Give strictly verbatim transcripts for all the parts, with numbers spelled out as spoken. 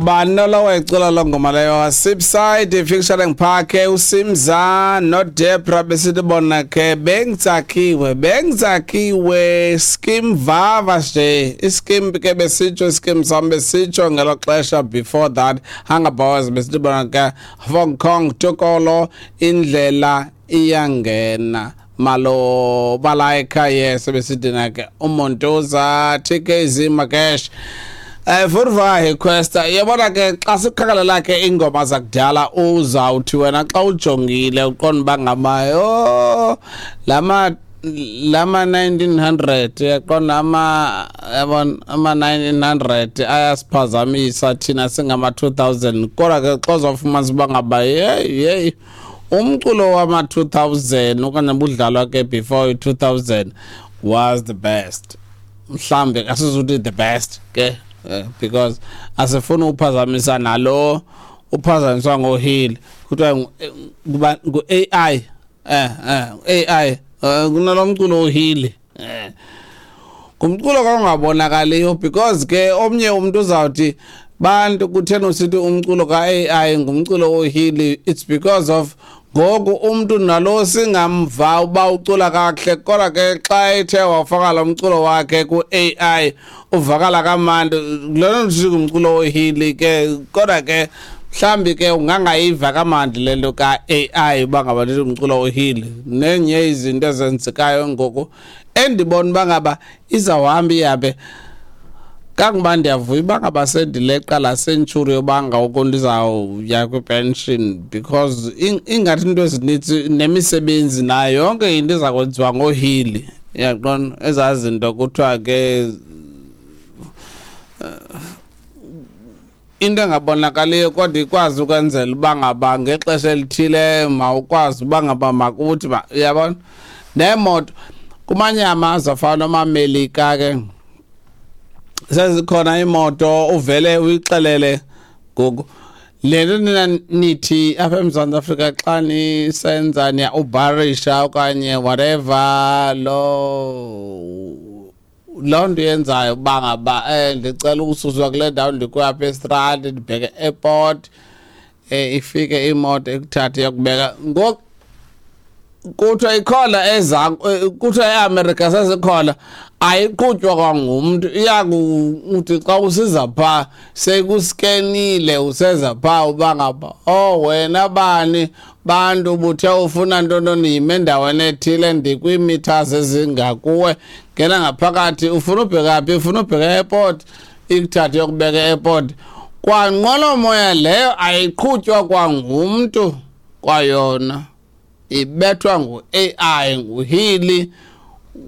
Bani lo wecula lo ngoma leyo? Sipside featuring Parke, uSimza noDebra, besithi bona ke bengitsakiwe, bengitsakiwe skim vava nje iskim ke besitsho iskim sam besitsho ngelo xesha. Before that, Hunger Boys, besithi bona ke Hong Kong Tokolo, indlela iyangena malo balaika. Yes, besithi na ke uMontoza T K Z Makesh. Eh Vurva request, yabona ke xa sikhakalela ke ingoma zakudala, uzawuthi wena xa ujongile uqonda uba ngaba yo lama lama nineteen hundred, yaqonda, ama yabona ama nineteen hundred ayasiphazamisa thina singama two thousand. Kodwa ke xa uzofumanisa uba ngaba hey hey umculo wama two thousand okanye budlalwa ke before two thousand was the best. Mhlambe asizuthi the best ke, eh, because asifuna uphazamisa nalo uphazamiswa ngohili kuthiwa kuba ngu-A I, eh eh A I, eh, kunalomculo ohili, eh ngumculo kangabonakaliyo, because ke omnye umuntu uzawuthi bantu kutheni usithi umculo ka-A I ngumculo ohili? It's because of ngoku umuntu nalo singamva uba ucula kakuhle, kodwa ke xa ethe wafaka lo mculo wakhe ku-A I uvakala kamandi. Lona nje ngumculo ohili ke, kodwa ke mhlambi ke ungangayiva kamandi le nto ka-A I uba ngaba ndithi umculo ohili. Nenye izinto ezenzekayo ngoku endibona uba ngaba izawuhamba ihambe kangoba ndiyavuya uba ngaba sendileqa laa century yoba ngoku ndizawuya kwi-pension, because ingathi into ezinintsi nemisebenzi nayo yonke into iza kwenziwa ngohili, uyaqonda, ezaa zinto kuthiwa ke into engabonakaliyo kodwa ikwazi ukwenzela uba ngaba ngexesha elithile mawukwazi uba ngaba makuthi, uyabona, neemoto kumanye amazwe afana nomaMelika ke sezikhona imoto uvele uyixelele ngoku le nto nina nithi apha eMzantsi Afrika xa nisenza niya-Uberisha okanye whatever lo loo nto yenzayo uba ngaba eh ndicela ukususwa kule ndawo ndikuyo apha estrandi ndibheke e-airport, eh ifike imoto ikuthathe iyokubeka. Ngoku kuthiwa ikhona eza, kuthiwa eAmerica sezikhona, ayiqhutywa kwangumntu, iyakuthi xa usiza phaa sekuskenile useza phaa uba ngaba oh wena bani bantu ubuthe ufuna ntontoni, yime endaweni ethile, ndikwii-meters ezingakuwe, ngena ngaphakathi, ufuna ubheka phi? Ufuna ubheka e-airport, ikuthathe yokubeka e-airport. Kwanqwelomoya leyo ayiqhutywa kwangumntu kwayona, ibethwa ngu-A I, nguhili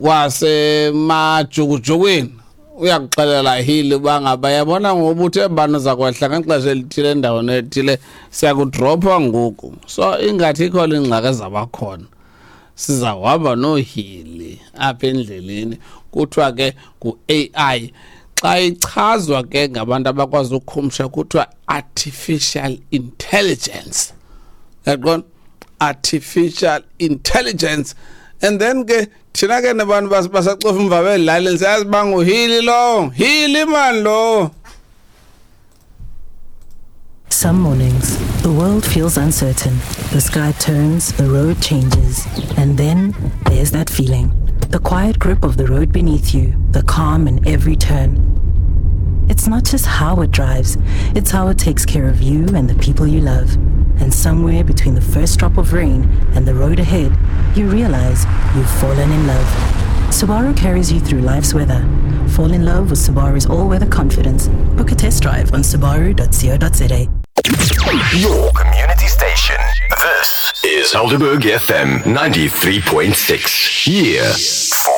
wasemajukujukwini. Uyakuxelela hili uba ngaba yabona ngoba uthe bani uza kwehla ngexesha elithile endaweni ethile, siyakudropha ngoku. So ingathi ikhona ingxaki ezabakhona, sizawuhamba noohili apha endleleni. Kuthiwa ke ngu-A I, xa ichazwa ke ngabantu abakwazi ukhumsha kuthiwa artificial intelligence, yaqonda, artificial intelligence. And then ke thina ke nabantu basacofa umva belalini siyazi uba nguhili lowo, hili man lo. Some mornings, the world feels uncertain. The sky turns, the road changes, and then there's that feeling. The quiet grip of the road beneath you, the calm in every turn. It's not just how it drives, it's how it takes care of you and the people you love. And somewhere between the first drop of rain and the road ahead, you realize you've fallen in love. Subaru carries you through life's weather. Fall in love with Subaru's all-weather confidence. Book a test drive on subaru dot co dot za. Your community station. This is Helderberg F M ninety-three point six. Here for